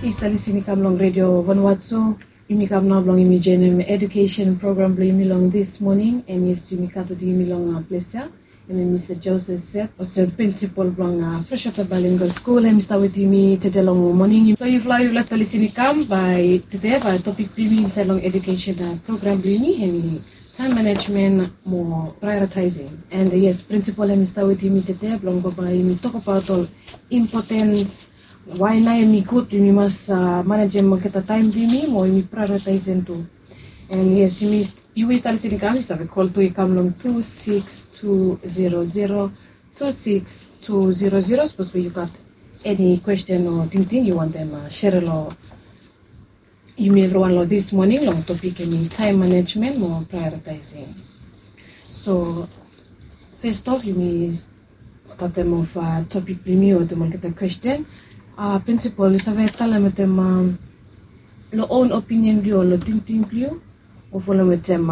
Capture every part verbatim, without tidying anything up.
Yumi stap lisin i kam long redio Vanuatu. Yumi kam nao blong yumi joinim education program blong yumi long this morning, and yes, yumi gat wetem yumi long ples ya. Em i Mista Joseph Seth, olsem principal blong Freshwater Bilingual School, em i stap wetem yumi tede long moning. So yufala, yufala stap lisin i kam, bae tede bae topik blong yumi insaed long education program blong yumi, em i time management mo prioritizing. And yes, principal em i stap wetem yumi tede blong bambae yumi tokbaot ol importance, wae nao em i gud yumi mas manejem olgeta taem blong yumi mo yumi prioritizing tu. And yes, yumi, yu i stap lisin i kam, yu save kol tu i kam long tu six tu zero zero, tu six tu zero zero, sapos we yu gat eni kwesten o tingting yu wantem sere long yumi evriwan long this morning long topik em i time management mo prioritizing. So first off, yumi statem of topik blong yumi wetem olgeta kwesten. Principal, yu save talem wetem long own opinion blong yu o long tingting blong yu, o folem wetem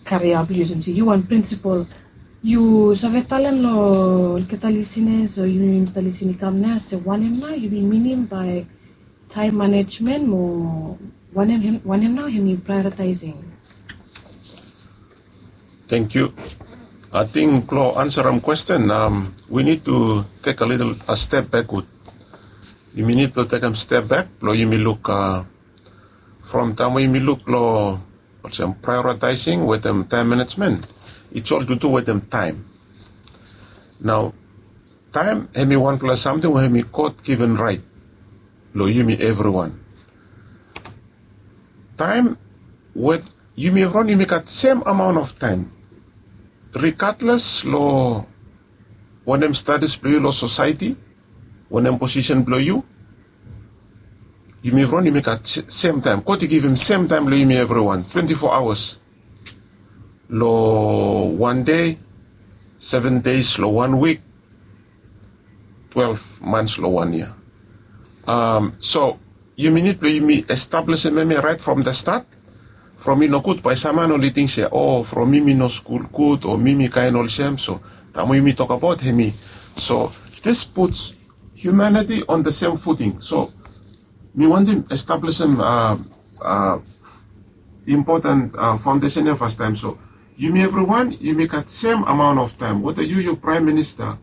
karia blong yu, olsem se yu wan principal, yu save talem long olgeta listeners o yumi stap lisin i kam nao se wanem nao yumi minim bae time management mo wanem, wanem nao hemi prioritizing? Thank you. Ating blong ansarem kwesten, we need to take a little a step backward. Yumi nid blong tekem step back blong yumi luk from taem we yumi luk long olsem prioritizing wetem time management, it's all to do wetem taem. Nao taem hemi wanfala samting we hemi God given right long yumi evriwan. Taem we yumi evriwan yumi gat sem amaon of taem, regardless long wanem status blong yu long sosaeti, wanem posisen blong yu, yumi evriwan yumi gat sem taem. God i givim sem taem long yumi evriwan, twenti fo aoas long wan dei, seven days long wan wik, twelve months long wan yia. So yumi nid blong yumi establisim hemia right from the start. From i nogud bae sam man oli ting se, o, from mi mi no skul gud o mi mi kaen olsem. So taem we yumi tokbaot hemi, so this puts humanity on the same footing. So mi wantem establisim important foundation ya fastaem. So yumi evriwan yumi gat sem amaon of taem, weta yu yu praem minista,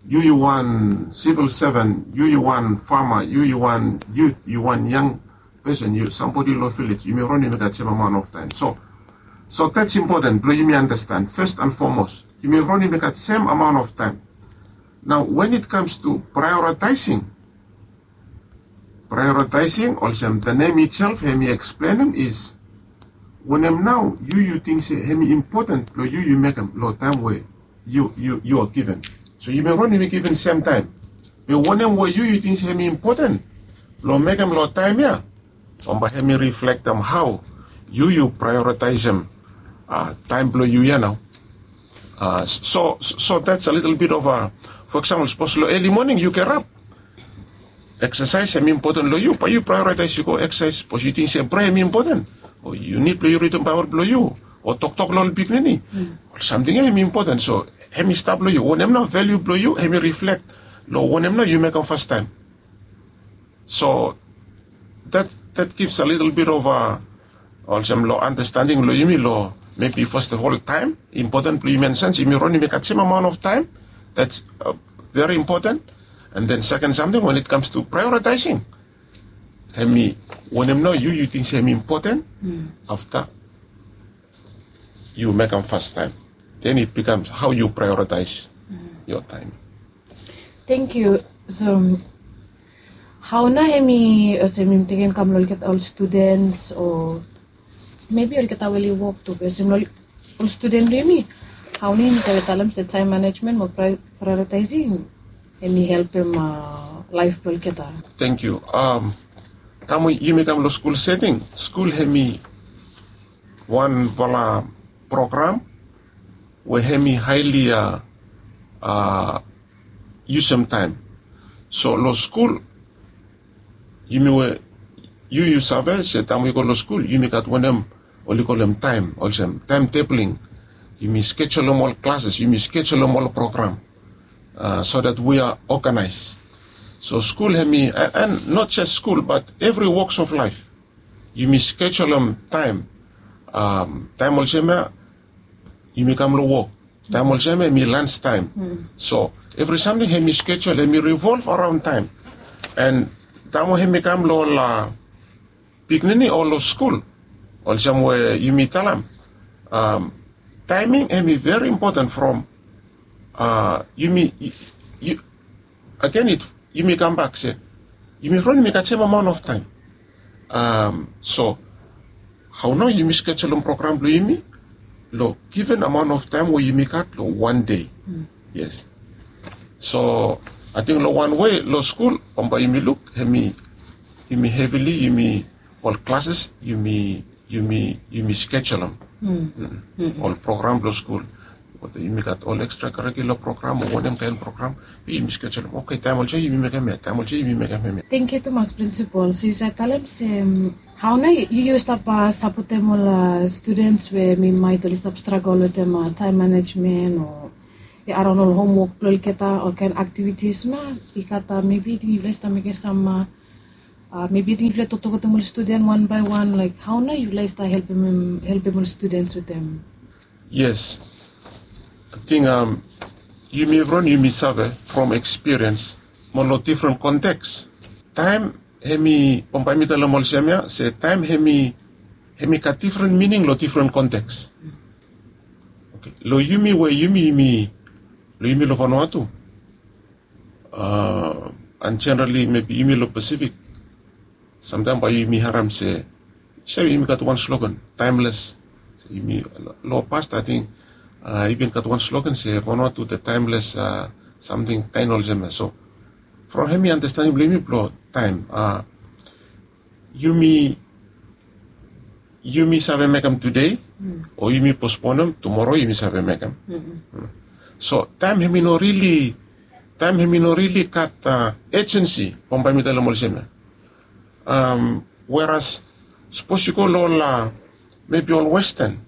yu yu wan sivil sevan, yu yu wan fama, yu yu wan yut, yu wan yang pesen, yu sambodi long vilej, yumi evriwan yumi gat sem amaon of taem. So so that's important blong yumi andastan, first and foremost yumi evriwan yumi gat sem amaon of taem. Nao when it comes to prioritizing, prioritizing olsem the name itself hemi eksplenem is wanem nao yu yu ting se hemi important blong yu yu mekem long taem we yu yu yu are given. So yumi evriwan yumi given sem taem. Be wanem we yu yu ting se hemi important blong mekem long taem ya, bambae hemi riflektem hao yu yu prioritizem taem blong yu ya nao. So so that's a little bit of a, for example, sapos long eli moning yu gerap, eksasaes hemi impoten long yu, bae yu prioritaes yu go eksasaes, sapos yu ting se prea hemi impoten, o yu nid blong yu ridim Baebol blong yu, o toktok long ol pikinini, ol samting ya hemi impoten. So hemi stap long yu, wanem nao valiu blong yu hemi riflek long wanem nao yu mekem fastaem. So that that gives a little bit of a, olsem long andastanding long yumi long, maybe first of all taem impoten blong yumi, and since yumi evriwan yumi gat sem amaon of taem, that's very important. And then second samting, when it comes to prioritizing, hemi wanem nao yu yu ting se hemi impoten, afta yu mekem fastaem. Then it becomes how you prioritize your time. Thank you. So hao nao hemi, olsem yumi tekem kam long olgeta ol students o maybe olgeta we oli wok tu, be olsem long ol student blong yumi, hao nao yumi save talem se time management mo prioritizing hemi helpem laef blong olgeta? Thank you. Taem we yumi kam long skul seting, skul hemi wanfala program we hemi haeli a yusum taem. So long skul yumi we yu yu save se taem we yu go long skul yumi gat wanem oli kolem taem, olsem taem tebling. Yumi skejulum ol klases, yumi skejulum ol program, so that we are organized. So skul hemi, and not just skul but evri woks of laif, yumi skejulum taem. Taem olsem ya yumi kam long wok, taem olsem ya hemi lans taem. So evri samting hemi skejul, hemi rivolv araon taem. And taem we hemi kam long ol pikinini o long skul, olsem we yumi talem, taeming hemi veri impoten from yumi, agen yumi kambak se yumi from yumi gat sem amaon of taem. So hao nao yumi skejulum program blong yumi long given amaon of taem we yumi gat long wan dei. Yes. So ating long wan wei long skul bambae yumi luk hemi, yumi hevili yumi, ol klases yumi, yumi, yumi skejulum ol program blong skul. Yumi gat ol ekstra karikula program o wanem kaen program, yumi skejulum, oke, taem olsem yumi mekem hemia, taem olsem yumi mekem hemia. Tengkiu tumas, Prinsipol. So yu save talem se hao nao yu, yu stap sapotem ol studens we mi maet oli stap stragol wetem taem manejmen o, ya, araon ol homwok blong olgeta, olkaen aktivitis ma i gat, mebi ting yufala stap mekem sam, mebi ting yufala toktok wetem ol studen wan bae wan, laek hao nao yufala i stap helpem, helpem ol studens wetem? Yes. Ating yumi evriwan yumi save from ekspiriens mo long difren konteks. Taem hemi, bambae mi talem olsem ya se taem hemi, hemi gat difren mining long difren konteks. Long yumi we yumi, yumi long yumi long Vanuatu, and jenerali mebi yumi long Pasifik, samtaem bae yumi harem se, se yumi gat wan slogan, taemles. Yumi, long past ating i bin gat wan slogan se Vanuatu the timeless something kaen olsem ya. So from hemi andastaning blong yumi blong taem, yumi, yumi save mekem tude o yumi posponem, tumoro yumi save mekem. So taem hemi no rili, taem hemi no rili gat ejensi, bambae mi talem olsem ya. Weras sapos yu go long ol, mebi ol Westan,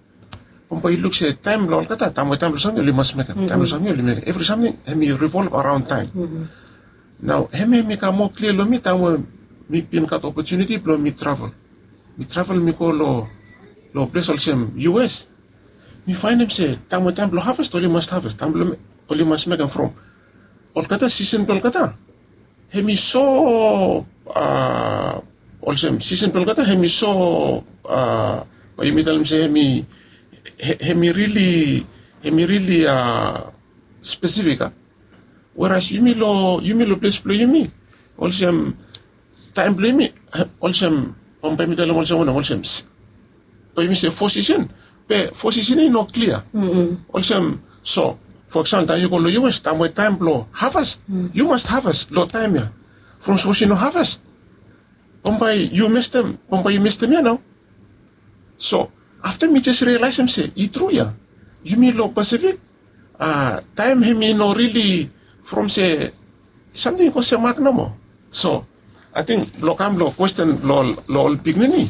bambae yu luk se taem blong olgeta, taem we taem blong samting oli mas mekem, taem blong samting oli mekem. Evri samting hemi rivolv araon taem. Nao hemia hemi kam moa klia long mi taem we mi bin gat opotuniti blong mi travel. Mi travel mi go long, long ples olsem U S. Mi faenem se taem we taem blong haves oli mas haves, taem blong oli mas mekem from olgeta sisen blong olgeta. Hemi so, olsem sisen blong olgeta hemi so, bae yumi talem se hemi, hemi rili, hemi rili spesifik a. Weras yumi long, yumi long ples blong yumi, olsem taem blong yumi, olsem, bambae mi talem olsem wanem, olsem bae yumi se fo sisen, be fo sisen ya i no klia. Olsem, so fo eksampol taem yu go long U S, taem we taem blong haves, yu mas haves long taem ya. From sapos yu no haves, bambae yu mestem, bambae yu mestem ya nao. So afta mi jes rialaesem se i tru ya, yumi long Pasifik, taem hemi no rili from se samting i go semak nomo. So ating blong kam long kwesten long ol pikinini,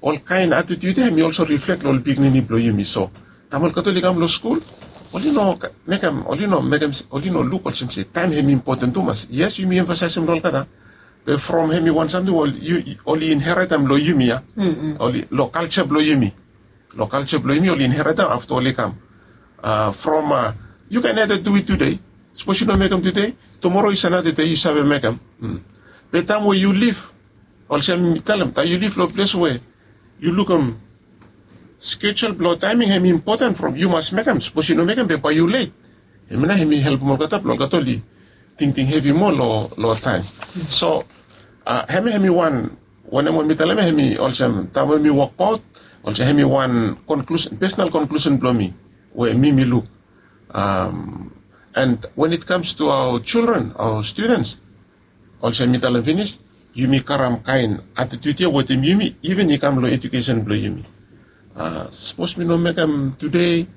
olkaen atitiut ya hemi olso riflek long ol pikinini blong yumi. So taem olgeta oli kam long skul, oli no mekem, oli no mekem, oli no luk olsem se taem hemi impoten tumas. Yes, yumi emfasaesem long olgeta, be from hemi wan samting we oli inheretem long yumi ya. Oli long kalja blong yumi, long kalja blong yumi oli inheretem afta oli kam. From yu can either do it today. Sapos yu no mekem tude, tumoro is another day yu save mekem. Be taem we yu lif, olsem mi talem, taem yu lif long ples we yu lukim skejul blong taeming hemi impoten from yu mas mekem. Sapos yu no mekem be bae yu let. Hemia nao hemi helpem olgeta blong olgeta oli tingting hevi moa long taem. So hemia hemi wan, wanem we mi talem ya hemi olsem taem we mi wokbaot, olsem hemi wan konklusen, pesonal konklusen blong mi we mi mi luk. And when it comes to our children, our students, olsem mi talem finis, yumi karem kaen atitiut ya wetem yumi, iven i kam long ejukesen blong yumi. Sapos mi no mekem tude,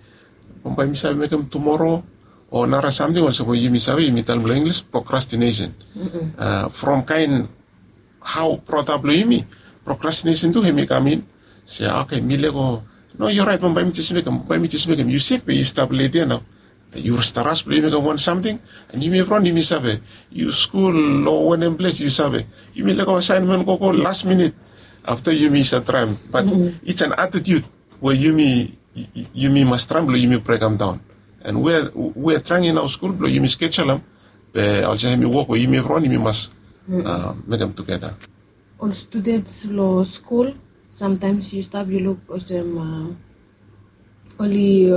bambae mi save mekem tumoro, o nara samting olsem we yumi save, yumi talem long Inglis procrastination. From kaen hao brought up long yumi, procrastination tu hemi kam in. Se oke, mi lego, no, yu oraet, bambae mi jes mekem, bambae mi jes mekem. Yu sek be yu stap let ya nao. Yu stap ras blong yu mekem wan samting, and yumi evriwan yumi save, yu skul long wanem ples yu save, yumi lego asaenmen gogo las minit. Afta yumi save traem, bat it's an attitude we yumi yumi mas traem blong yumi brekem daon. And we we traeng in aoa skul blong yumi skejulem, be olsem hemi wok we yumi evriwan yumi mas mekem tugeta. Ol studens long skul, samtaems yu stap yu luk olsem, oli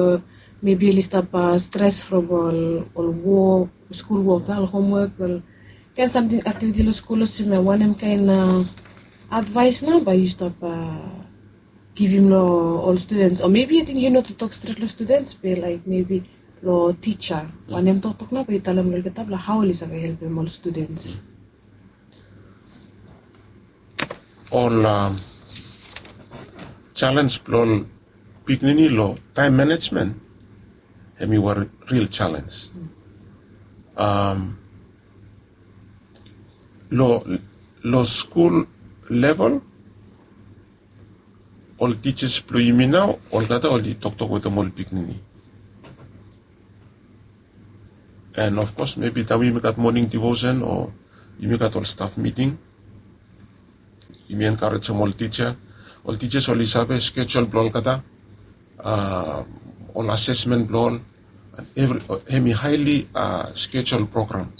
mebi oli stap stres from ol wok, skul wok, ol homwok, ol kaen samting, aktiviti long skul, olsem wanem kaen advaes nao bae yu stap givim long ol studens? O mebi ating yu no tu tok stret long studens, be laek mebi long tija, wanem toktok nao bae yu talem long olgeta blong hao oli save helpem ol studens? Ol jalenj blong ol pikinini long taem manejmen, hemi wan ril jalenj. Long skul level, ol tijas blong yumi nao olgeta oli toktok wetem ol pikinini. And of course mebi taem yumi gat moning divosen o yumi gat ol staf miting, yumi enkarejem ol tija. Ol tija oli save skejul blong olgeta, ol asesmen blong ol, hemi haeli skejul program.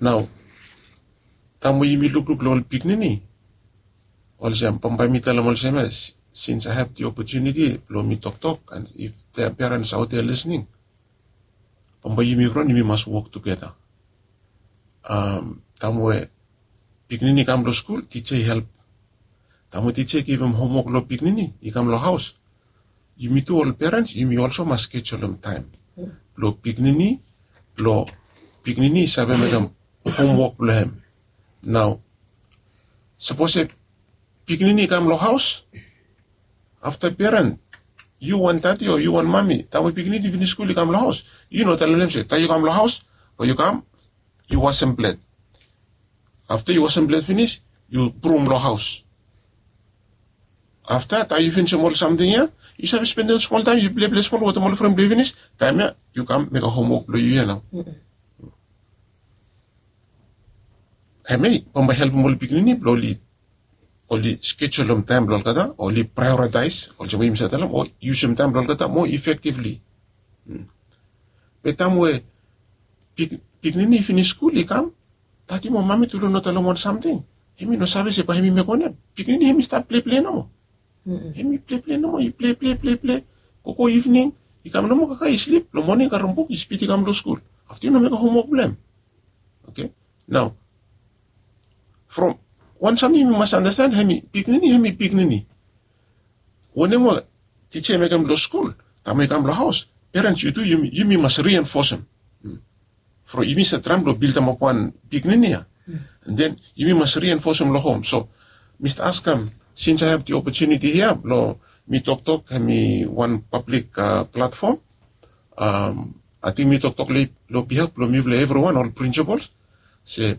Nao taem we yumi lukluk long ol pikinini, olsem bambae mi talem olsem ya, since I have the opportunity blong mi toktok, and if there are parents out there listening, bambae yumi evriwan yumi mas wok tugeta. Taem we pikinini i kam long skul, tija i help. Taem we tija i givim homwok long pikinini i kam long haos, yumi tu ol perens yumi olso mas skejulem taem blong pikinini, blong pikinini i save mekem homwok blong hem. Nao sapos pikinini i kam long haos, afta peren, yu wan dadi o yu wan mami, taem we pikinini i finis skul i kam long haos, yu no talem long hem se taem yu kam long haos, bae yu kam yu wasem plet. Afta yu wasem plet finis, yu brum long haos. Afta taem yu finisim ol samting ya, yu save spendem smol taem yu pleple smol wetem ol fren blong yu finis, taem ya yu kam mekem homwok blong yu ya nao. Hemia bambae helpem ol pikinini blong oli skejulem taem blong olgeta, oli praeoritaes olsem we yumi save talem, o yusum taem blong olgeta moa efektivli. Be taem we pikinini i finis skul i kam, dadi mo mami tu long no talem wan samting, hemi no save se bae hemi mekem wanem. Pikinini hemi stap pleple nomo. Hemi pleple nomo, i pleple pleple, gogo ivning, i kam nomo kakae i slip, long moning i karem buk i spid i kam long skul. Afta i no mekem homwok blong hem. Oke. Nao from wan samting yumi mas andasten, hemi pikinini, hemi pikinini. Wanem we tija i mekem long skul, taem we i kam long haos, perens yu tu yumi mas rienfosem. From yumi save traem blong bildemap wan pikinini ya, and then yumi mas rienfosem long hom. So mi stap askem, since I have the opportunity hia blong mi toktok, hemi wan pablik platfom, ating mi toktok long bihaf blong mifala evriwan ol prinsipols se,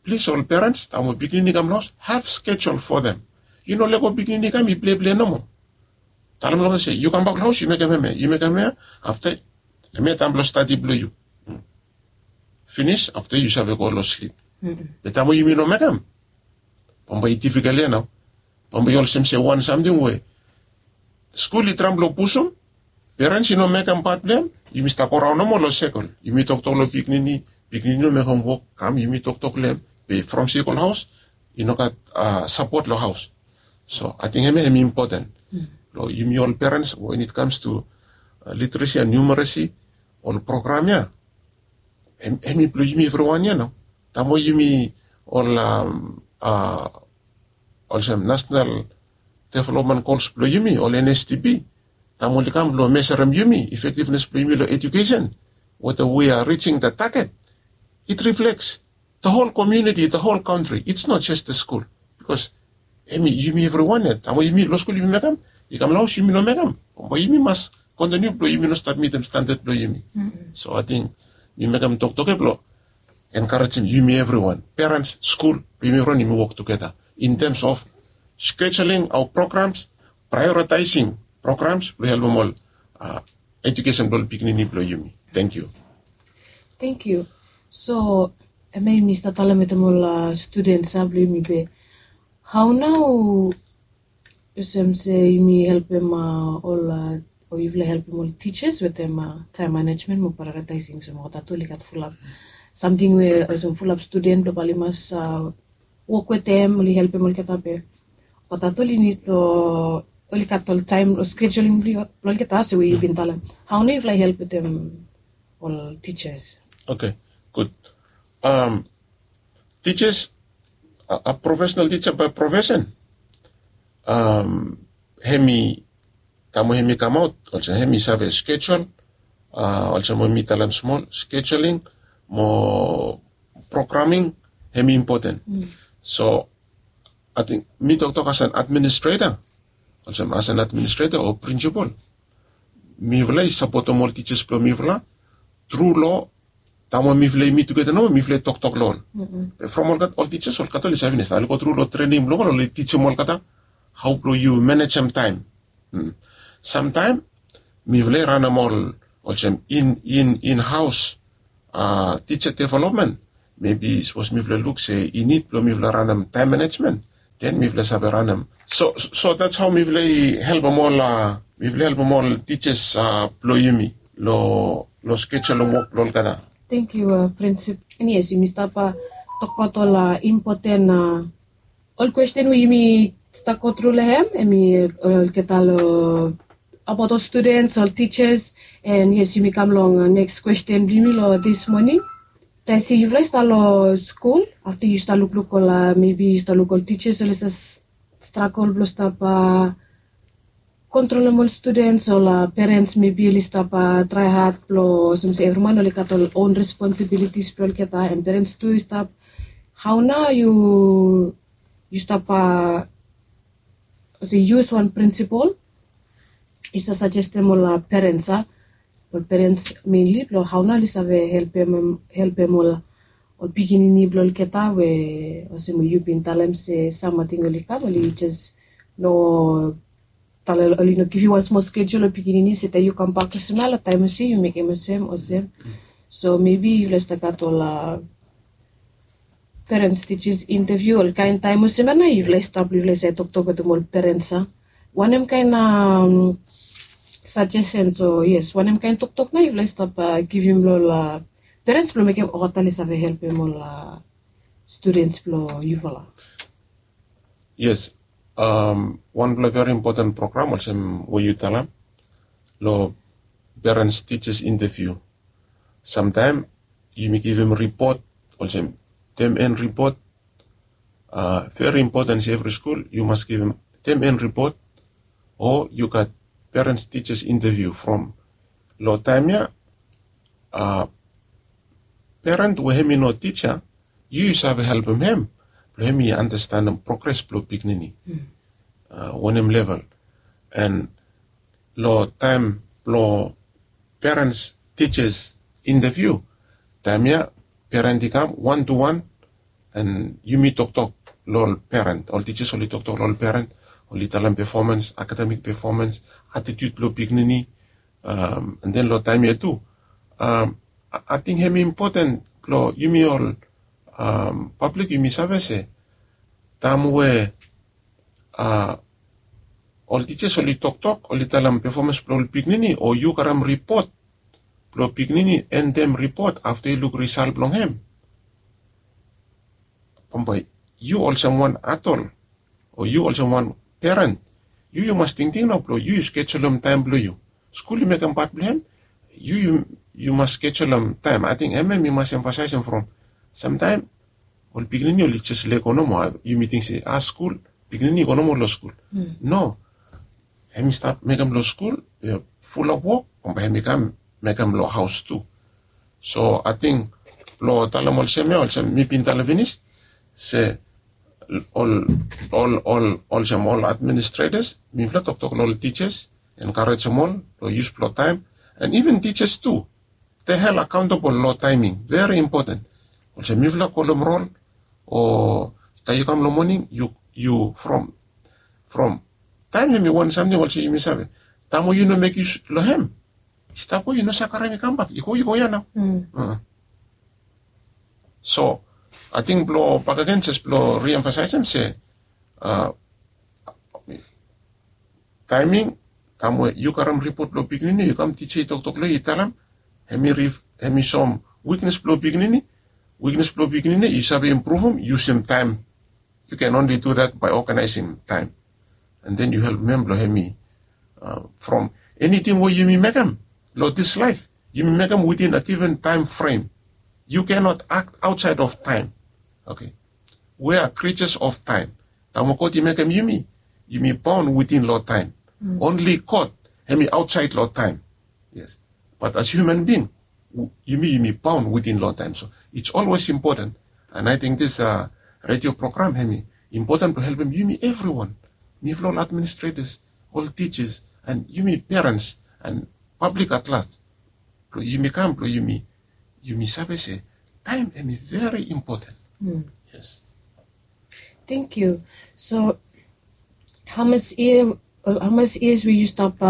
plis ol perens, taem we pikinini i kam long haos, have schedule for them. Yu no lego pikinini i kam i pleple nomo. Talem long hem se yu kambak long haos, yu mekem hemia, yu mekem hemia. Afta hemia taem blong stadi blong yu. Finis afta yu save go long slip. Be taem we yumi no mekem, bambae i difikol ya nao. Bambae i olsem se wan samting we skul i traem blong pusum, perens i no mekem pat blong hem, yumi stap goraon nomo long sekol. Yumi toktok long pikinini, pikinini i no mekem wok, kam yumi toktok long hem, be from sekol haos i no gat sapot long haos. So ating hemia hemi impoten long yumi ol perens, when it comes to literacy and numeracy, ol program ya hemi blong yumi evriwan ya nao. Taem we yumi ol olsem nasenal developmen gols blong yumi, ol N S D P, taem oli kam blong meserem yumi, efektivnes blong yumi long ejukesen, whether we are reaching the target, it reflects the whole community, the whole country. It's not just the school. Bikos hemi yumi evriwan ya, taem we yumi long skul yumi mekem, i kam long haos yumi no mekem, bambae yumi mas kontiniu blong yumi no stap mitim standad blong yumi. So ating mi mekem toktok ya blong enkarejem yumi evriwan, perens, skul, blong yumi evriwan yumi wok tugeta in terms of scheduling our programs, prioritizing programs blong helpem ol edukesen blong ol pikinini blong yumi. Thank you. Thank you. So, em ya yumi stap talem wetem ol students a blong yumi be, hau nau olsem se yumi helpem ol, o yufala helpem ol teachers wetem time management mo prioritizing olsem olgeta tu oli gat fulap samting we olsem fulap student blong bae oli mas wok wetem oli helpem olgeta be olgeta tu oli nid blong oli gat ol taem o scheduling blong olgeta se we yu bin talem. Hau nau yufala help wetem ol teachers? Okay, good. Teachers, a professional teacher by profession, hemi taem we hemi kamaot olsem hemi save schedule, olsem we mi talem smol, scheduling mo programming, hemi impoten. So ating mi toktok as an administrator, olsem as an administrator o principal, mifala i sapotem ol teachers blong mifala tru long taem we mifala i mit tugeta nomo mifala i toktok long ol. Be from olgeta ol teachers olgeta oli save finis taem oli go tru long trening blong ol oli tijim olgeta hau blong yu manejem taem. Samtaem mifala i ranem ol olsem in in in haos teacher development. Mebi sapos mifala luk se i nid blong mifala ranem taem manejmen, den mifala save ranem. So that's hau mifala i helpem ol mifala i helpem ol teachers blong yumi long schedule long wok blong olgeta. Thank you, princip. And yes, yumi stap tokbaot ol impoten ol kwesten we yumi stap go tru long hem hemi olgeta long abaot ol students, ol teachers. And yes, yumi kam long next kwesten blong yumi long this morning. Taem se yufala i stap long skul, afta yu stap lukluk ol, mebi yu stap luk ol teachers oli stap stragel blong stap kontrolem ol students, ol perens mebi oli stap trae had blong olsem se evri man oli gat ol on responsibilities blong olgeta and perens tu i stap. Hau nau yu yu stap olsem yu as wan principal yu stap sajestem ol perens a ol perens menli blong hau nau oli save helpem ol ol pikinini blong olgeta we olsem we yu bin talem se sam ating oli kam oli jes no talem oli no givim wan smol schedule long pikinini se taem yu kambak olsem ya long taem olsem yu mekem olsem olsem. So mebi yufala i stap gat ol perens teachers interview ol kaen taem olsem ya nao yufala i stap long yufala i save toktok wetem ol perens a wanem kaen sajesens o yes wanem kaen toktok nao yufala i stap givim long ol perens blong mekem olgeta oli save helpem ol students blong yufala? Yes. Wanpela veri impoten program olsem we yu talem long perens teachers interview. Samtaem yumi givim ripot olsem tem en ripot. Veri impoten se evri skul yu mas givim tem en ripot o yu gat perens teachers interview from long taem ya peren we hem i no tija yu yu save helpem hem blong hem i anastenem progres blong pikinini wanem level. An long taem blong perens tijas interviu taem ya peren i kam wan tu wan an yumi toktok long ol peren ol tijas oli toktok long ol peren oli talem pefomens akademik pefomens atitiut blong pikinini. An den long taem ya tu ating hem i impoten blong yumi ol pablik yumi save se taem we ol tijas oli toktok oli talem pefomens blong ol pikinini o yu karem ripot blong pikinini endem ripot afta yu luk risal blong hem bambae yu olsem wan adol o yu olsem wan peren yu yu mas tingting nao blong yu yu skejulem taem blong yu skul i mekem pat blong hem yu yu mas skejulem taem ating em em i mas emfasaesem from samtaem ol pikinini oli jes lego nomo yumi ting se a skul pikinini i go nomo long skul no em i stap mekem long skul fulap wok bambae em i kam mekem long haos tu. So ating blong talem olsem ya olsem mi bin talem finis se ol ol ol olsem ol administretas mifala toktok long ol tijas enkarejem ol long yus blong taem an iven tijas tu de hel akaontabol long taeming veri impoten. Olsem mifala kolem rol o taem yu kam long moning yu from from taem hem i wan samting olsem yumi save taem we yu no mek yus long hem stap we yu no save karem i kambak, i go i go ya nao. So ating blong bakegen jes blong riemfasaesem se, taeming kam we yu karem ripot blong pikinini, yu kam tija i toktok long yu i talem, hem i soem wiknes blong pikinini. Wiknes blong pikinini yu save impruvum, yusum taem. Yu ken onli du dat bae oganaesem taem. And then yu helpem hem blong hem i from eniting we yumi mekem long dis laef, yumi mekem witin a given taem frem. Yu kenot akt aotsaed of taem. Oke. We a krijas of taem. Taem we god i mekem yumi, yumi baon witin long taem. Onli god hem i aotsaed long taem. Yes. Bat as hiuman bing, yumi yumi baon witin long taem. So its olwes impoten. And ating dis redio program hem i impoten blong helpem yumi evriwan, mifala ol administretas, ol tijas, and yumi perens, and pablik at laj, blong yumi kam blong yumi yumi save se taem hem i veri impoten. Yes. Tengkiu. So hamas yia, hamas yias we yu stap,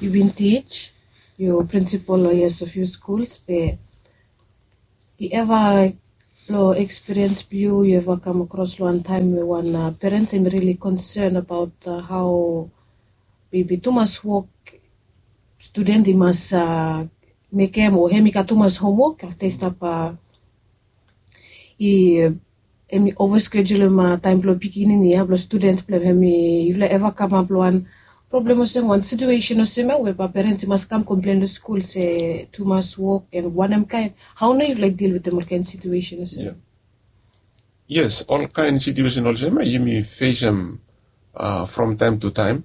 yu bin tij, yu prinsipol long yias of yu skuls be i eva long ekspiriens blong yu, yu eva kam akros long wan taem we wan perens hem i rili konsen abaot hao bebi tumas wok studen i mas mekem o hem i gat tumas homwok afta i stap i hem i ova skejulum taem blong pikinini ya blong studen blong hem i yufala eva kamap long wan problem olsem wan situesen olsem ya we bae perens i mas kam komplen long skul se tumas wok en wanem kaen, hao nao yufala i dil wetem ol kaen situesen olsem ya? Yes, ol kaen situesen olsem ya yumi fesem from taem tu taem.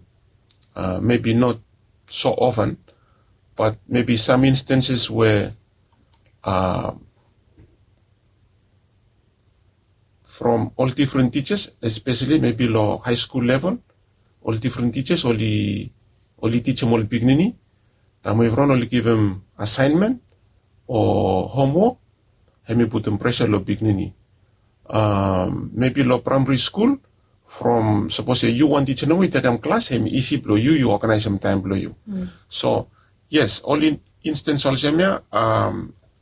Mebi not so ofen, bat mebi sam instanses we from ol difren tijas, espeseli mebi long haeskul level, ol difren tijas oli tijem ol pikinini. Taem we evriwan oli givim asaenmen o homwok, hem i putum presa long pikinini. Mebi long praemari skul, from sapos se yu wan tija nomo i tekem klas, hem i isi blong yu yu oganaesem taem blong yu. So yes, ol instens olsem ya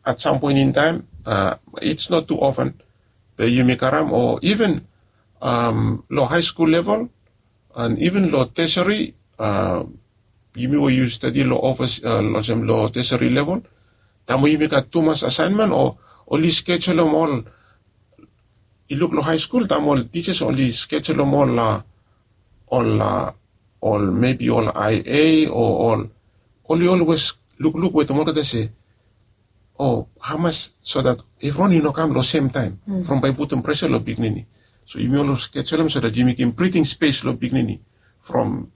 at sam poen in taem, its not tu ofen, be yumi karem o iven long haeskul level, and iven long tesari, yumi we yu stadi long ofis olsem long tesari level, taem we yumi gat tumas asaenmen o oli skejulum ol, i luk long haeskul taem ol tijas oli skejulum ol ol ol mebi ol ia o ol oli olwes lukluk wetem olgeta se o hamas so dat evriwan i no kam long semtaem from bae i putum presa long pikinini. So yumi olwes skejulum so dat yumi givim briting spes long pikinini from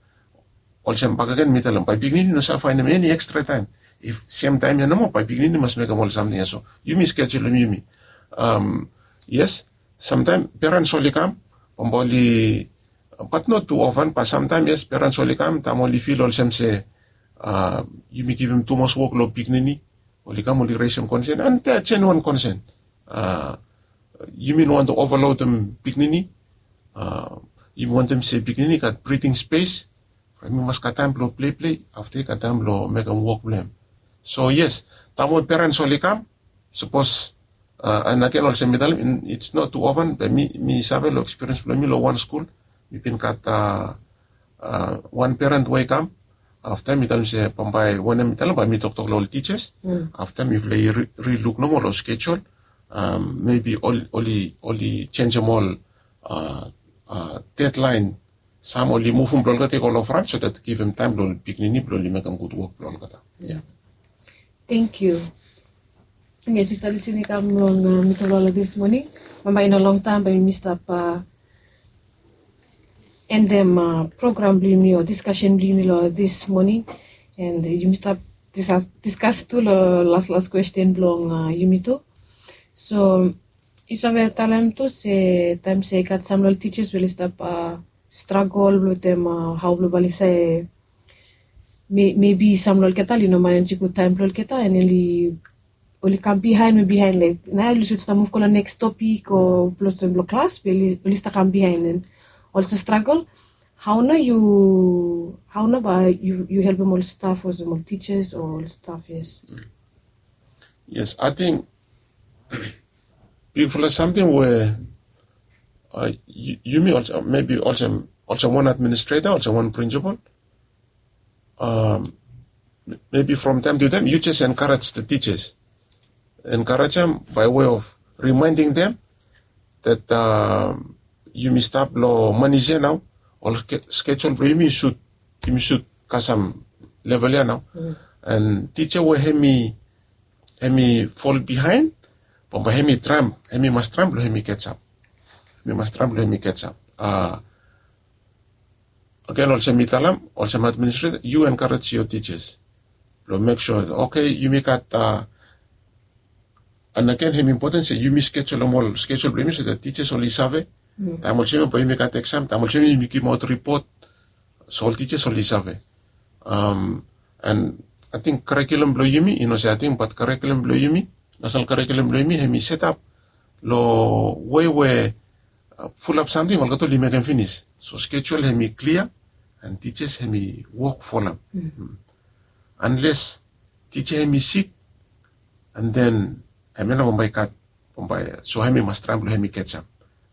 olsem bakegen mi talem bae pikinini no save faenem eni ekstra taem. If semtaem ya nomo bae pikinini mas mekem ol samting ya so yumi skejulum yumi. Yes, samtaem perens oli kam bambae oli, bat not tu ofen, bat samtaem yes perens oli kam taem oli fil olsem se yumi givim tumas wok long pikinini. Oli kam oli resem konsen and they are genuine konsen. Yumi no wantem ovalodim pikinini. Yumi wantem se pikinini i gat briting spes, yumi mas gat taem blong pleplei afta i gat taem blong mekem wok blong hem. So yes, taem we perens oli kam, sapos and agen olsem mi talem its not tu ofen be mi save long ekspiriens blong mi long wan skul, mi bin gat wan peren we i kam afta mi talem se bambae wanem mi talem bae mi toktok long ol tijas. Afta mifala i riluk nomo long skejul, mebi oli jenjem ol dedlaen, sam oli muvum blong olgeta i go long fran so dat givim taem blong ol pikinini blong oli mekem gud wok blong olgeta. Tengkiu. Yes, sista Lisin i kam long middle long dis moning. Bambae i no longtaem bae yumi stap endem program blong yumi o diskasen blong yumi long dis moning. And yumi stap diskas tu long laslas kwesten blong yumi tu. So yu save talem tu se taem se i gat sam long ol tijas we oli stap stragol wetem hao blong bae oli save, mebi sam long olgeta oli no manejim gud taem blong olgeta and oli oli kam bihaen we bihaen laek nao oli sud stap muv go long neks topik o blong olsem blong klas be oli stap kam bihaen and oli stap stragol. Hau nao yu, hau nao bae yu helpem ol staf olsem ol tijas o ol staf? Yes. Yes, ating bigfala samting we yumi olsem mebi olsem wan administreta, olsem wan prinsipol, mebi from taem tu taem yu jes enkarej the tijas, enkarejem by way of reminding them that yumi stap long manis ya nao. Ol skejul blong yumi sud, yumi sud kasem level ya nao. And tija we hemi fol bihaen, bambae hemi traem, hemi mas traem blong hemi ketsap. Hemi mas traem blong hemi ketsap. Agen olsem mi talem, olsem administreta yu enkarejem ol tijas blong mek sua, oke, yumi gat, and agen hemi impoten se yumi skejulem ol skejul blong yumi so that tijas oli save taem olsem ya bae yumi gat eksam, taem olsem ya yumi givimaot ripot. So ol tijas oli save. And ating karikulum blong yumi, i no se ating bat karikulum blong yumi, nasonal karikulum blong yumi hemi setap long wei we fulap samting olgeta oli mekem finis. So skejul hemi klia and tijas hemi wok folem. Anles tija hemi sik, and then hemia nao bambae i gat, bambae so hemi mas traem blong hemi ketsap.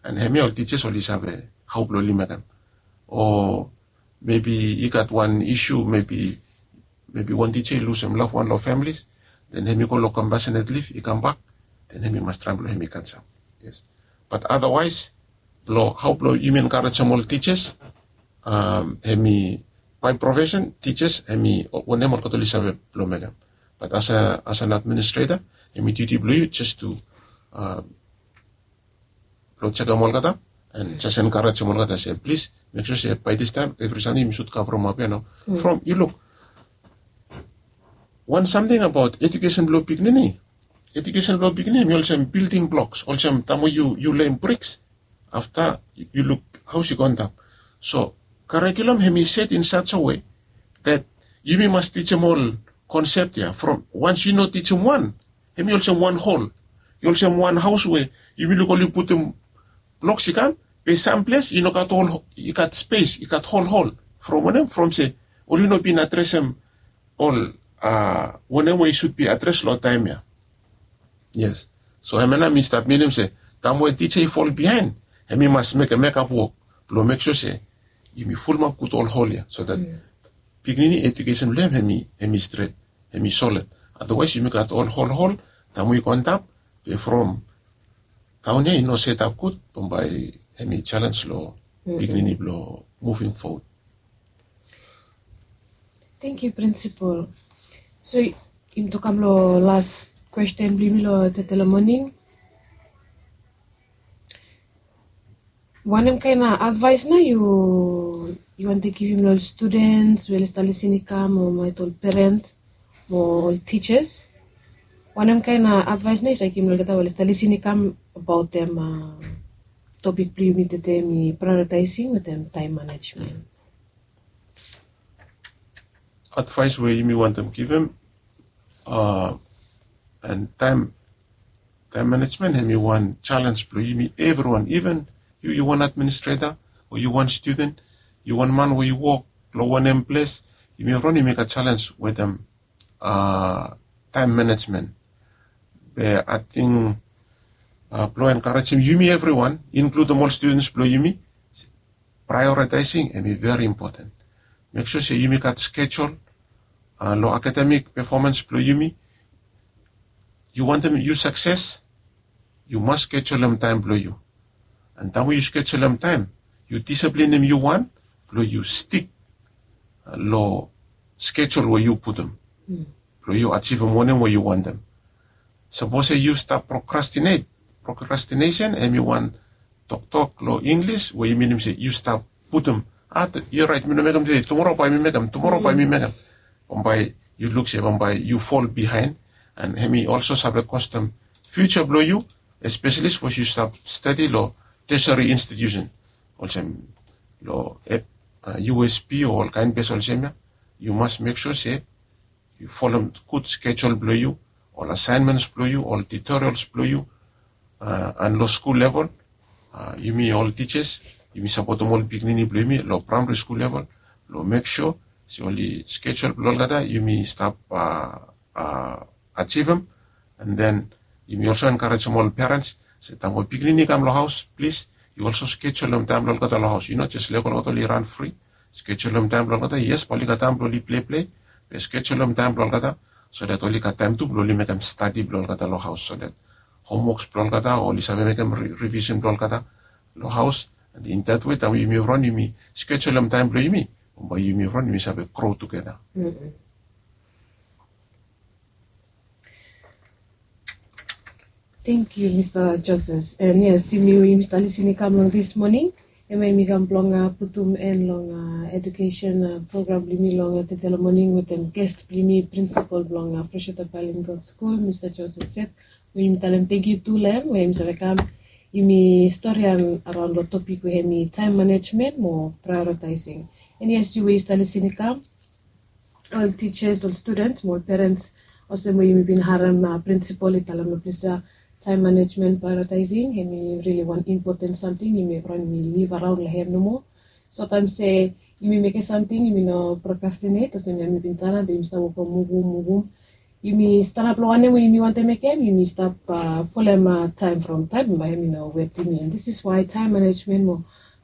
And hemia ol tijas oli save hau blong oli mekem. O mebi i gat wan isu, mebi wan tija i lusem loved one long famili, then hemi go long compassionate leave, i kambak, then hemi mas traem blong hemi ketsap. Yes. Bat otherwise blong hau blong yumi enkarejem ol tijas, hemi by profession tijas hemi wanem olgeta oli save blong mekem. Bat as an administreta, hemi duti blong yu jes tu blong jekem olgeta and jes enkarejem olgeta se plis mek sua se bae distaem evri samting yumi sud kavremap ya nao. From yu luk wan samting abaot ejukesen blong pikinini. Ejukesen blong pikinini hemi olsem bilding bloks, olsem taem we yu lem briks, afta yu luk haos i go antap. So karikulum hemi set in such a way that yumi mas tijim ol konsep ya from once yu no tijim wan, hemi olsem wan hol. I olsem wan haos we yumi luk oli putum bloks i kam, be samples i no gat ol, i gat spes, i gat hol hol. From wanem? From se oli no bin adresem ol wanem we i sud bi adres long taem ya. Yes. So hemia nao mi stap minim se taem we tija i fol bihaen, hemi mas mekem mekap wok blong mek sua se yumi fulumap gud ol hol ya so that pikinini ejukesen blong hem hemi stret, hemi solid. Otherwise yumi gat ol hol hol, taem we i go antap, be from taon ya i no setap gud, bambae hemi jalens long pikinini blong moving forward. Tangkiu Prinsipol. So yumi tu kam long las kwesten blong yumi long tede long moning. Wanem kaen advaes nao yu wantem givim long ol studens we oli stap lisin i kam o maet ol peren o ol tijas? Wanem kaen advaes nao yu save givim long olgeta we oli stap lisin i kam abaot topik blong yumi tede, hemi prioritaesing wetem taem manejmen? Advaes we yumi wantem givim, a, and taem, taem manejmen hemi wan jalens blong yumi evriwan, iven yu, yu wan administreta o yu wan studen, yu wan man we yu wok long wanem ples, yumi evriwan yumi gat jalens wetem, a, taem manejmen. Be ating, a, blong enkarejim yumi evriwan, inkludim ol studens blong yumi, prioritaesing hemi veri impoten. Mek sua se yumi gat skejul long akademik pefomans blong yumi. Yu wantem yu sakses, yu mas skejulem taem blong yu. And taem we yu skejulem taem, yu disiplinim yu wan blong yu stik long skejul we yu putum blong yu ajivim wanem we yu wantem. Sapos se yu stap prokrastinet, prokrastinesen hemi wan toktok long Inglis we i minim se yu stap putum, a, yu orait, mi no mekem tede, tumora bae mi mekem, tumora bae mi mekem. Bambae yu luk se bambae yu fol bihaen, and hemi olso save kostem fiuja blong yu, espeseli sapos yu stap stadi long teseri institiusen olsem long U S P o ol kaen ples olsem ya. Yu mas mek sua se yu folem gud skejul blong yu, ol asaenmens blong yu, ol tutorials blong yu, and long skul level yumi ol tijas yumi sapotem ol pikinini blong yumi long praemari skul level blong mek sua se oli skejul blong olgeta yumi stap ajivem. And then yumi olso enkarejem ol perens se taem ol pikinini i kam long haos, plis yu olso skejulem taem blong olgeta long haos, yu no jes lek olgeta oli ran fri. Skejulem taem blong olgeta, yes bae oli gat taem blong oli pleplei, be skejulem taem blong olgeta so dat oli gat taem tu blong oli mekem stadi blong olgeta long haos, so dat homwoks blong olgeta o oli save mekem rivisen blong olgeta long haos. And in dat wei taem yumi evriwan yumi skejulem taem blong yumi, bae yumi evriwan yumi save gro tugeta. Tengkiu mista joses, and yes yumi we yumi stap lisin i kam long dis moning, hemia yumi kam blong putum en long edukesen program blong yumi long tedela moning wetem ges blong yumi, prinsipol blong freshwater bilingual skul mista joses set. We yumi talem tengkiu tu long hem we yumi save kam yumi storian araon long topik we hem i taem manejmen mo praeoritaesing. And yes yu we yu stap lisin i kam, ol tijas, ol studens mo ol perens, olsem we yumi bin harem prinsipol i talem long ples ya, taem manejmen, praeoritaesing hem i rili wan impoten samting yumi evriwan yumi liv araon long hem nomo. Sotaem se yumi mekem samting yumi no prokrastinet olsem ya mi bin talem be yumi stap wokem muvum muvum. Yumi stanap long wanem we yumi wantem mekem, yumi stap folem taem from taem bae hem i no wet yumi. And this is wae taem manejmen mo